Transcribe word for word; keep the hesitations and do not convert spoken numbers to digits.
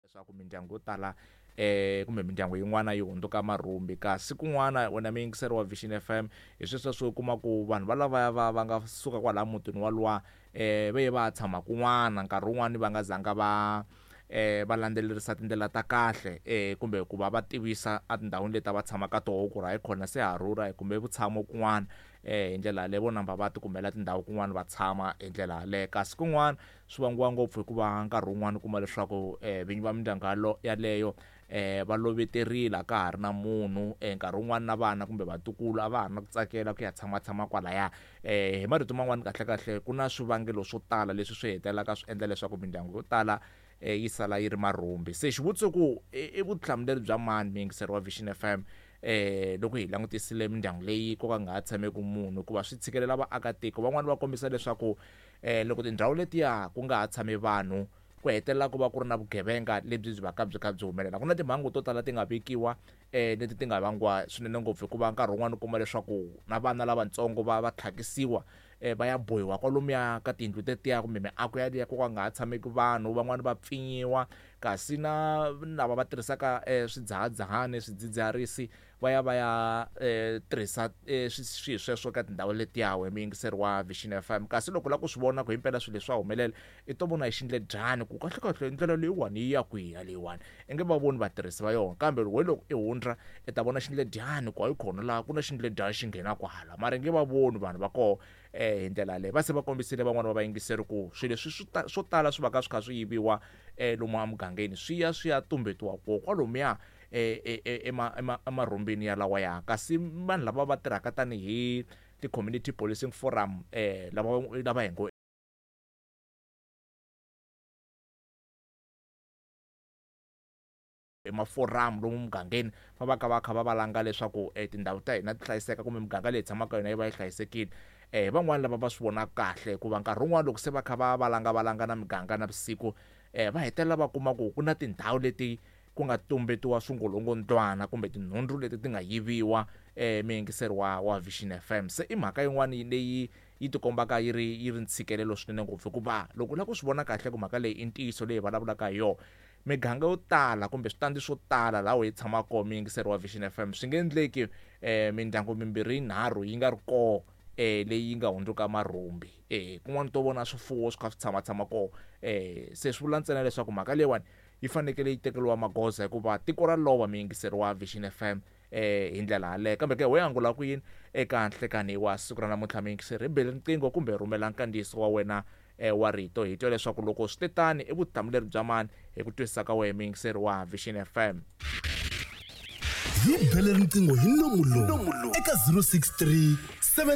Leswaku mindyangu yo tala eh kumbe mindyangu yin'wana yi hundzuka marhumbi, kasi kun'wana wena muyingiseri wa Vision F M hi sweswo swo kuma ku vanhu va lavaya va va nga suka kwala mutini wa luwa eh va ye va tshama kun'wana nkarhi wun'wani va nga zanga va eh va landzelerisa tindlela ta kahle eh kumbe ku va va tivisa etindhawini leti va tshamaka toho ku ri hayi khona se ha rhurha kumbe vutshamo kun'wana eh hi ndlela yaleyo vo namba va tikumela tindhawu kun'wana va tshama hi ndlela yaleyo. Kasi kun'wana swi vangiwa ngopfu hikuva nkarhi wun'wani u kuma leswaku eh vinyi va mindyangu yaleyo eh va loveterile a ka ha ri na munhu eh nkarhi wun'wani na vana kumbe vatukulu a va ha ri na ku tsakela ku ya tshamatshama kwalaya. Eh hi marito man'wani kahle kahle ku na swivangelo swo tala leswi swi hetelelaka swi endla leswaku mindyangu yo tala eh yi sala yi ri marhumbi. Se xivutiso ku i vutihlamuleri bya mani muyingiseri wa Vision F M eh loko hi langutisile mindyangu leyi ko ka nga ha tshameki munhu, hikuva swi tshikelela vaakatiko van'wani va kombisa leswaku eh loko tindhawu letiya ku nga ha tshami vanhu ku hetelela ku va ku ri na vugevenga lebyi byi va ka byi kha byi humelela. Ku na timhangu to tala ti nga vekiwa eh leti ti nga vangiwa swinene ngopfu hikuva nkarhi wun'wani u kuma leswaku na vana lavatsongo va va tlhakisiwa eh va ya bohiwa kwalomuya ka tiyindlu tetiya kumbe miako yaliya ko ka nga ha tshameki vanhu, van'wani va pfinyiwa, kasi na lava va tirhisaka eh swidzahadzahani swidzidziharisi va ya va ya eh tirhisa eh swilo sweswo ka tindhawu letiya we muyingiseri wa Vision F M. Kasi loko la ku swi vona ku himpela swilo leswi swa humelela i to vona hi xindledyani ku kahle kahle ndlela leyiwani yi ya kwihi yaleyiwani, i nge va voni vatirhisi va yona, kambe loko loko i hundza i ta vona xindledyani ku hayi khona laha ku na xindledyani xi nghena kwala, mara i nge va voni vanhu va koho eh hi ndlela yaleyo. Va se va kombisile van'wani va vayingiseri ku swilo leswi swo tala swi va ka swi kha swi yiviwa eh lomu emugangeni swi ya swi ya tumbetiwa kona kwalomuya eh emarhumbini ya lawa ya. Kasi vanhu lava va tirhaka tanihi ti-community policing forum eh lava lava hi ngo emaforamu lomu mugangeni va va ka va kha va valanga leswaku tindhawu ta hina ti hlayiseka kumbe muganga leyi tshamaka yona yi va yi hlayisekile. Eh van'wani lava va swi vonaka kahle hikuva nkarhi wun'wani loko se va kha va valanga valanga na miganga na vusiku eh va hetelela va kuma ku ku na tindhawu leti ku nga tumbetiwa swingolongondzwana kumbe tinhundzu leti ti nga yiviwa eh muyingiseri wa wa Vision F M. Se i mhaka yin'wani leyi yi tikombaka yi ri yi ri ntshikelelo swinene ngopfu hikuva loko u lava ku swi vona kahle ku mhaka leyi i ntiyiso leyi vulavulaka hi yona, miganga yo tala kumbe switandi swo tala laha hi tshamaka kona muyingiseri wa Vision F M swi nge endleki eh mindyangu mimbirhi yinharhu yi nga ri koho eh leyi nga hundzuka marhumbi eh kun'wana to vona swifuwo swi kha swi tshama tshama koho eh se swi vula ntsena leswaku mhaka leyiwani yi fanekele yi tekeriwa magoza hikuva tiko ra lova muyingiseri wa Vision F M eh hi ndlela yaleyo. Kambe ke we angula ku yini eka nhlekani wa siku ra namuntlha muyingiseri, hi bele riqingho kumbe rhumela nkandziyiso wa wena eh wa rito hi twa leswaku loko swi tetani i vutihlamuleri bya mani hi ku twisisa ka wena muyingiseri wa Vision F M. Hi bele riqingho hi nomu lowu eka zero six three seven